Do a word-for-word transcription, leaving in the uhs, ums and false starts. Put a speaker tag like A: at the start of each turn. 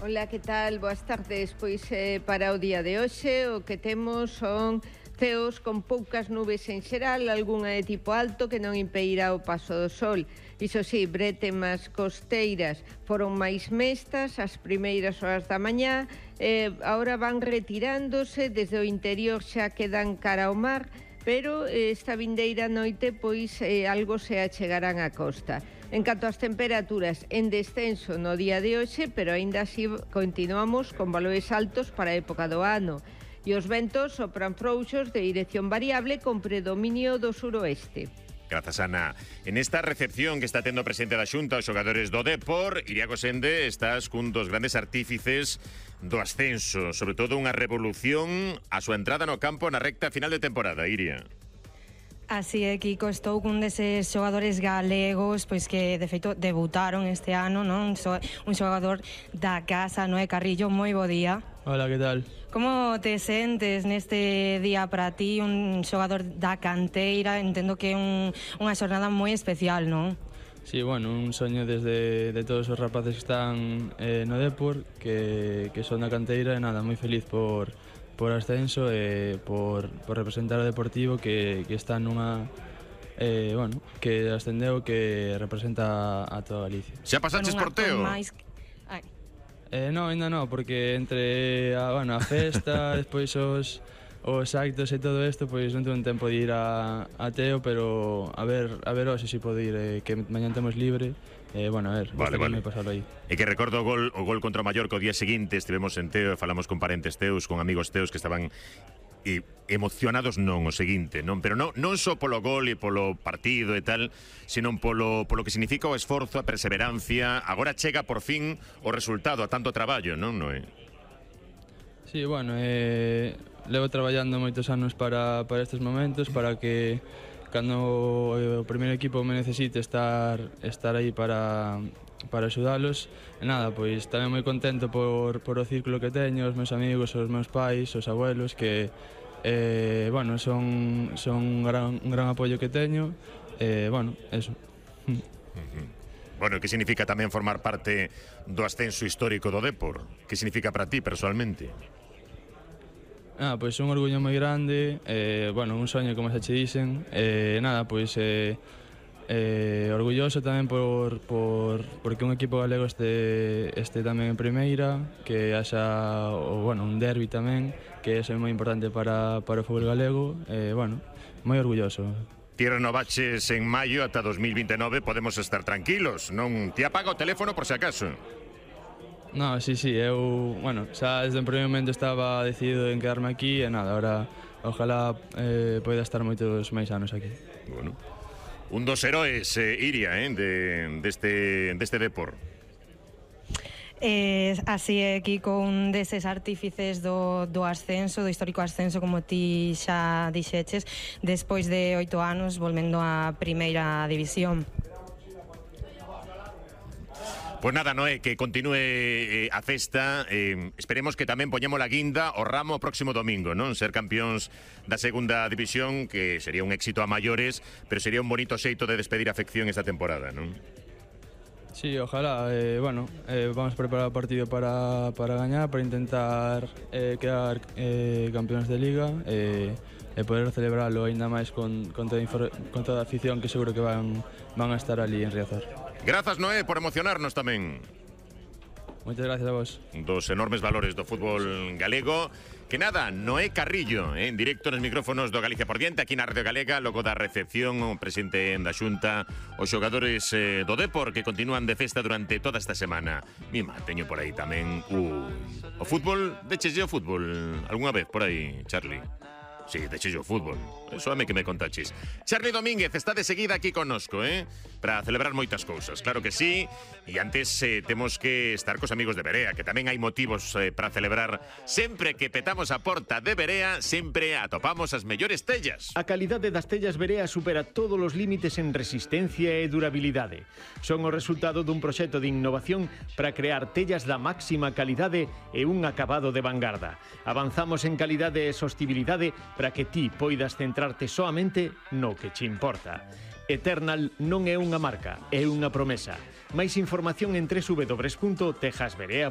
A: Ola, que tal? Boas tardes. Pois eh, para o día de hoxe o que temos son ceos con poucas nubes en xeral, algunha de tipo alto que non impedirá o paso do sol. Iso sí, bretemas costeiras foron máis mestas as primeiras horas da mañá, eh, agora van retirándose, desde o interior xa quedan cara ao mar, pero eh, esta vindeira noite pois eh, algo se achegarán á costa. En canto ás temperaturas, en descenso no día de hoxe, pero aínda así continuamos con valores altos para a época do ano. E os ventos sopran frouxos de dirección variable con predominio do suroeste.
B: Grazas, Ana. En esta recepción que está tendo o presidente da Xunta aos xogadores do Depor, Iria Gosende, estás cun dos grandes artífices do ascenso, sobre todo unha revolución a súa entrada no campo na recta final de temporada, Iria.
C: Así é, Kiko, estou cun deses xogadores galegos pois que, de feito, debutaron este ano, non? Un xogador da casa, Noé Carrillo, moi bo día.
D: Hola, que tal?
C: Como te sentes neste día para ti, un xogador da canteira? Entendo que é un, unha xornada moi especial, non?
D: Sí, bueno, un soño desde de todos os rapaces que están eh, no Depor, que, que son da canteira, e nada, moi feliz por... por ascenso e por, por representar o Deportivo que, que está nunha eh, bueno, que ascendeu, que representa a toda Galicia.
B: Xa pasaches por Teo?
C: Máis...
D: Eh, no, ainda no, porque entre a, bueno, a festa, despois os, os actos e todo isto, pois non tuve tempo de ir a, a Teo, pero a ver, a ver hoxe si podo ir, eh, que mañan temos libre. Eh, bueno, a ver,
B: vale, vale.
D: Me pasalo aí.
B: E que recordo o gol, o gol contra o Mallorca o día seguinte, estivemos en Teo e falamos con parentes teus, con amigos teus que estaban e, emocionados non o seguinte, non, pero non non só polo gol e polo partido e tal, senón polo polo que significa o esforzo, a perseverancia. Agora chega por fin o resultado a tanto traballo, non, Noé?
D: Sí, bueno, eh, levo traballando moitos anos para para estes momentos, para que cando o primeiro equipo me necesite estar estar aí para para axudalos. E nada, pois tamén moi contento por, por o círculo que teño, os meus amigos, os meus pais, os abuelos, que eh, bueno, son, son un, gran, un gran apoio que teño. Eh, bueno, eso.
B: Bueno, que significa tamén formar parte do ascenso histórico do Depor? Que significa para ti personalmente?
D: Ah, pois un orgullo moi grande, eh, bueno, un soño, como xa che dixen, eh, nada, pois eh, eh, orgulloso tamén por, por porque un equipo galego este, este tamén en primeira, que haxa, o, bueno, un derbi tamén, que é moi importante para, para o fútbol galego, eh, bueno, moi orgulloso.
B: Ti renovaches en maio ata dos mil vintenove, podemos estar tranquilos, non? Ti apaga o teléfono por se acaso?
D: No, sí, sí, eu, bueno, xa desde o primeiro momento estaba decidido en quedarme aquí e nada, ahora ojalá eh, poida estar moitos máis anos aquí.
B: Bueno, un dos heróis, eh, Iria, eh, de, deste, deste Depor.
C: Eh, así é, Kiko, un deses artífices do, do ascenso, do histórico ascenso, como ti xa dixeches, despois de oito anos volvendo á primeira división.
B: Pois nada, Noé, que continúe eh, a festa. eh, Esperemos que tamén poñemos la guinda o ramo o próximo domingo, non? Ser campións da segunda división, que sería un éxito a maiores, pero sería un bonito xeito de despedir a afección esta temporada, non?
D: Sí, ojalá, eh, bueno, eh, vamos a preparar o partido para, para gañar, para intentar eh, quedar eh, campeóns de Liga e eh, poder celebrarlo aínda máis con, con, toda, con toda a afición que seguro que van, van a estar ali en Riazor.
B: Grazas, Noé, por emocionarnos tamén.
D: Moitas gracias a vos.
B: Dos enormes valores do fútbol galego. Que nada, Noé Carrillo, eh, en directo nos micrófonos do Galicia por Diante, aquí na Radio Galega, logo da recepción, o presidente da Xunta, os xogadores eh, do Depor que continúan de festa durante toda esta semana. Mima, teño por aí tamén uh, o fútbol, decheslle o fútbol algunha vez por aí, Charlie? Sí, decheslle o fútbol. Eso é me que me contaches. Charlie Domínguez está de seguida aquí connosco, eh? Para celebrar moitas cousas, claro que sí. E antes eh, temos que estar cos amigos de Berea, que tamén hai motivos eh, para celebrar. Sempre que petamos a porta de Berea, sempre atopamos as mellores tellas.
E: A calidade das tellas Berea supera todos os límites en resistencia e durabilidade. Son o resultado dun proxecto de innovación para crear tellas da máxima calidade e un acabado de vanguarda. Avanzamos en calidade e sostibilidade para que ti poidas centrarte soamente no que che importa. Eternal non é unha marca, é unha promesa. Máis información en doble u doble u doble u punto tejas berea